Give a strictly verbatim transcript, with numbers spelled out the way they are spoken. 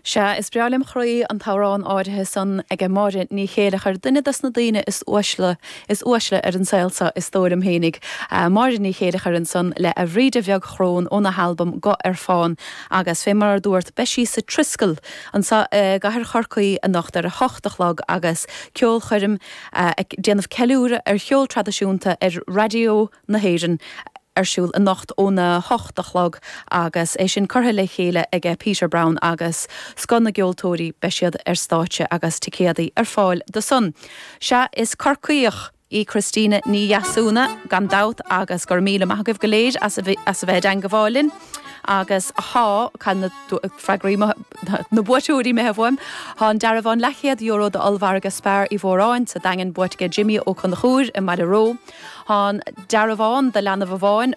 Sea, is breá lem chroí an t-amhrán áirithe san age Máire Ní Chéileachair duine des na daoine is uaisle is uaisle ar an saol seo is dóigh liom fhéinig. Uh, Máire Ní Chéileachair ansan le a Bhríde Bheag Chrón óna halbam Guth ar Fán agus fé mar a dúirt beidh sí sa Triskel anseo uh, gCathair Chorcaí anocht ar a hocht a chlog agus ceolchoirm uh, ag déanamh ceiliúradh ar cheol traidisiúnta ar Raidió na hÉireann ar siúl anocht óna hocht a chlog agus é sin curtha le chéile age Peter Brown agus scoth na gceoltóirí beidh siad ar stáitse agus ticéadaí ar fáil do san. Sea is Corcaíoch í Christina Ní Dheasúna gan dabht agus gur míle maith agaibh go léir as a bheith ag gabháil linn. agus tá na freagraí na buaiteoirí imithe uaim, Tá an dearbhán leathchéad euro d'ollmhargadh Spar Uí Mhóráin sa Daingean buaite ag Jimmy Ó Conchúir i mBaile Ró. Tá dearbhán do leanbh amháin chun